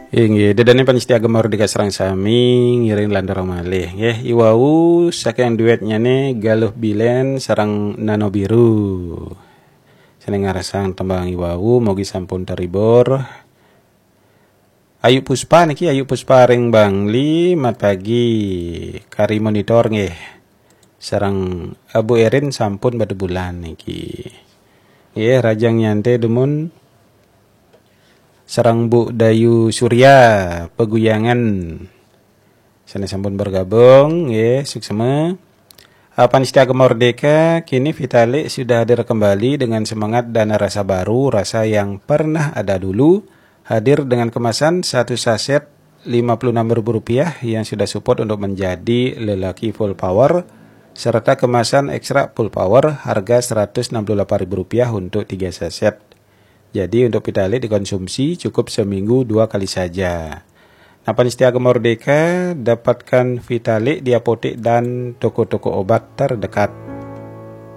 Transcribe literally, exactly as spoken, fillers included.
Inggih, ida dané pamiarsa Gema Merdeka sareng sami, ngiring lanturang malih. Nggih, iwau saking duetnya né Galuh Bilen sareng Nano Biru. Sané ngrasang tembang iwau, mugi sampun terhibur. Ayu Puspa niki, Ayu Puspa ring Bangli, mat pagi. Kari Monitor nggih. Sareng Abu Erin sampun batu bulan niki. Nggih, Rajang Nyanté dumun sareng Bu Dayu Surya Peguyangan. Sané sampun bergabung, nggih, suksma. Apan Setia Gema Merdeka, kini Vitalik sudah hadir kembali dengan semangat dan rasa baru, rasa yang pernah ada dulu, hadir dengan kemasan satu saset lima puluh enam ribu rupiah yang sudah support untuk menjadi lelaki full power, serta kemasan ekstra full power harga seratus enam puluh delapan ribu rupiah untuk tiga saset. Jadi untuk Vitalik dikonsumsi cukup seminggu dua kali saja. Apan Setia Gema Merdeka, dapatkan Vitalik di apotek dan toko-toko obat terdekat.